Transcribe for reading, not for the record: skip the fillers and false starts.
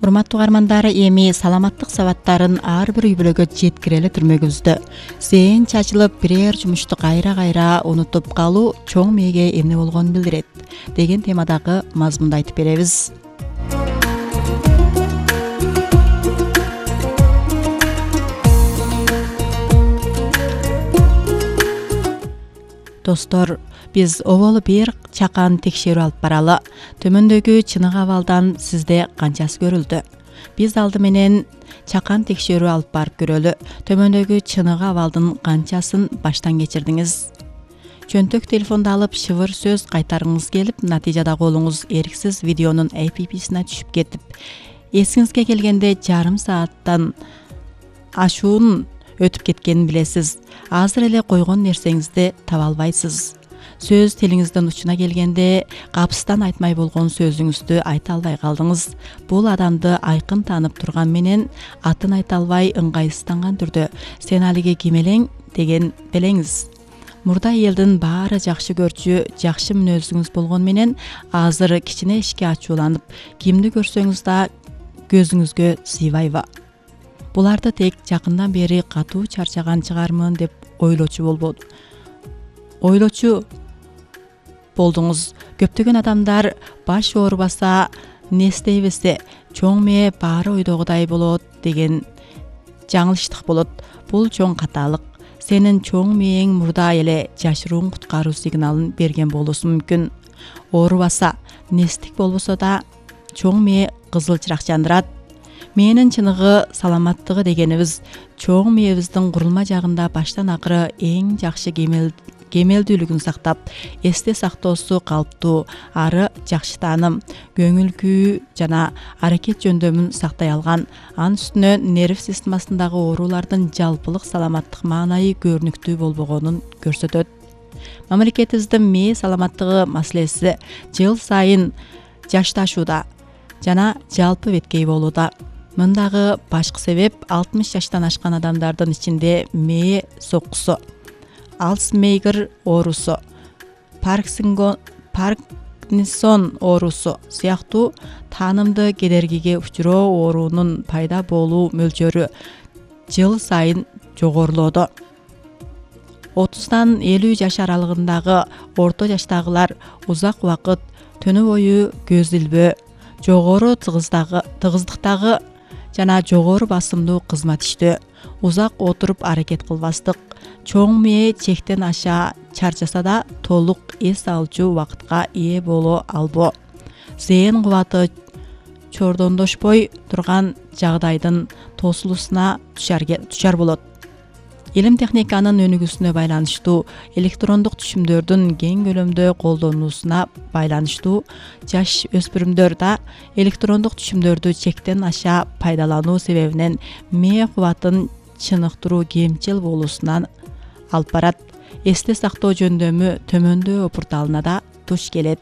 Урматтуу угармандар, эми саламаттык сабаттарын ар бир үй бүлөгө жеткире эле түрмөгүбүздө. Зээн чачылып, бирээр жумушту кайра унутуп калуу чоң мээге эмне болгонун билдирет деген темадагы мазмунду айтып беребиз. Достор, биз оболу бир чакан текшерүү алып баралы. Төмөндөгү чыныгы абалдан сизде канчасы көрүлдү? Биз алды менен чакан текшерүү алып барып көрөлү. Төмөндөгү чыныгы абалдын канчасын баштан кечирдиңиз? Чөнтөк телефонду алып шыбыр сөз кайтарыңыз келип, натыйжада колуңуз эриксиз видеонун APP-сине түшүп кетип, эсиңизге келгенде жарым сааттан ашуун өтүп кеткенин билесиз. Азыр эле койгон нерсеңизди таба албайсыз. Сөз тилиңиздин учуна келгенде капыстан айтмай болгон сөзүңүздү айта албай калдыңыз. Бул адамды айкын таанып турган менен атын айта албай ыңгайсызданган түрдө "Сен алиги ким элең?" деген белеңиз. Мурда элдин баары жакшы көрчү, жакшы мүнөзүңүз болгон менен азыр кичине ишке ачууланып, кимди көрсөңүз да көзүңүзгө сыйбайбы? Буларды тек жакындан бери катуу чарчаган чыгармын деп ойлочу болдуңуз. Көптөгөн адамдар баш оорубаса, нестейбесе, чоң мээ баары ойдогудай болот деген жаңылыштык болот. Бул чоң каталык. Сенин чоң мээң мурда эле жашыруун куткаруу сигналын берген болуусу мүмкүн. Оорубаса, нестик болбосо да чоң мээ кызыл чырак жандырат. Мээнин чыныгы саламаттыгы дегенибиз чоң мээбиздин курулма жагында баштан акыры эң жакшы кемелдүүлүгүн сактап, эсте сактоосу калыптуу, ары жакшы тааным, көңүл күү жана аракет жөндөмүн сактай алган, анын үстүнө нерв системасындагы оорулардын жалпылык саламаттык маанайы көрүнүктүү болбогонун көрсөтөт. Мамлекетибиздин мээ саламаттыгы маселеси жыл сайын жашташууда жана жалпы беткей болууда. Мындагы башкы себеп 60 жаштан ашкан адамдардын ичинде мээ соккусу, Альцгеймер оорусу, Паркинсон оорусу сыяктуу таанымды кедергиге учуроо оорунун пайда болуу мөлчөрү жыл сайын жогорулоодо. 30дан 50 жаш аралыгындагы орто жаштагылар узак убакыт түнү бою көз илбөө, жогору тыгыздыктагы жана жогору басымдуу кызмат иштөө, узак отуруп аракет кылбастык, чоң мээ чектен аша чарчаса да толук эс алчу убакытка ээ боло албоо, зээн кубаты чордондошпой турган жагдайдын тосулуусуна дучар болот. Илим техниканын өнүгүүсүнө байланыштуу, электрондук түшүмдөрдүн кең көлөмдө колдонулуусуна байланыштуу, жаш өспүрүмдөр да электрондук түшүмдөрдү чектен аша пайдалануу себебинен мээ кубатын чыныктыруу кемчил болуусуна алып барат. Эсте сактоо жөндөмү төмөндөө порталына да туш келет.